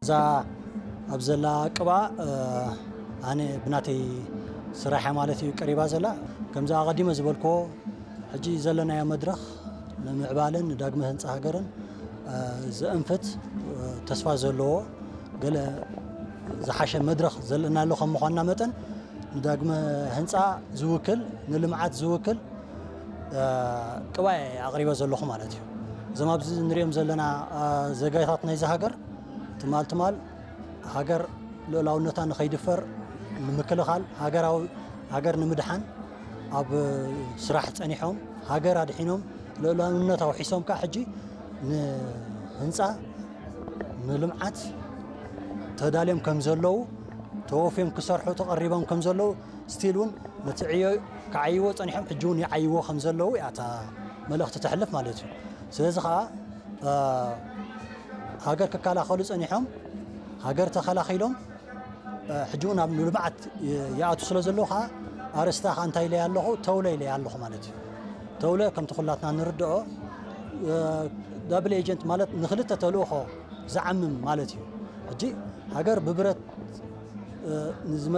እዛ ኣብ ዘላ ቅባ ኣነ ብናተይ ስራሕያ ማለት እዩ ቀሪባ ዘላ። ከምዚ ኣቐዲመ ዝበልክዎ ሕጂ ዘለናዮ መድረኽ ንምዕባለን ንዳግመ ህንፃ ሃገርን ዘእንፍት ተስፋ ዘለዎ ገለ ዝሓሸ መድረኽ ዘለናሉ ከም ምዃንና መጠን ንዳግመ ህንፃ ዝውክል ንልምዓት ዝውክል ቅባኤ ኣቕሪበ ዘለኹ ማለት እዩ። እዞም ኣብዚ ንሪኦም ዘለና ዜጋታት ናይዚ ሃገር ትማል ትማል ሃገር ልኡላውነታ ንኸይድፈር ንምክልኻል ሃገራዊ ሃገር ንምድሓን ኣብ ስራሕ ጸኒሖም ሃገር ኣድሒኖም ልኡላውነት ኣውሒሶም ከዓ ሕጂ ንህንፃ ንልምዓት ተዳልዮም ከም ዘለዉ ተወፍዮም ክሰርሑ ተቐሪቦም ከም ዘለዉ ስቲል እውን ነቲ ዕዮ ክዓይዎ ጸኒሖም ሕጂ እውን ይዓይዎ ከም ዘለዉ እያ እታ መልእኽቲ ተሕልፍ ማለት እዩ። ስለዚ ከዓ ሃገር ክከላኸሉ ጸኒሖም ሃገር ተኸላኺሎም ሕጂ እውን ኣብ ልምዓት ይኣቱ ስለ ዘለዉ ከዓ ኣርእስታ ከዓ እንታይ ኢለያ ኣለኹ ተውለ ኢለያ ኣለኹ ማለት እዩ። ተውለ ከምቲ ኩላትና ንርድኦ ዳብል ኤጀንት ማለት ንክልተ ተልእኾ ዝዓምም ማለት እዩ። ሕጂ ሃገር ብብረት ንዝመ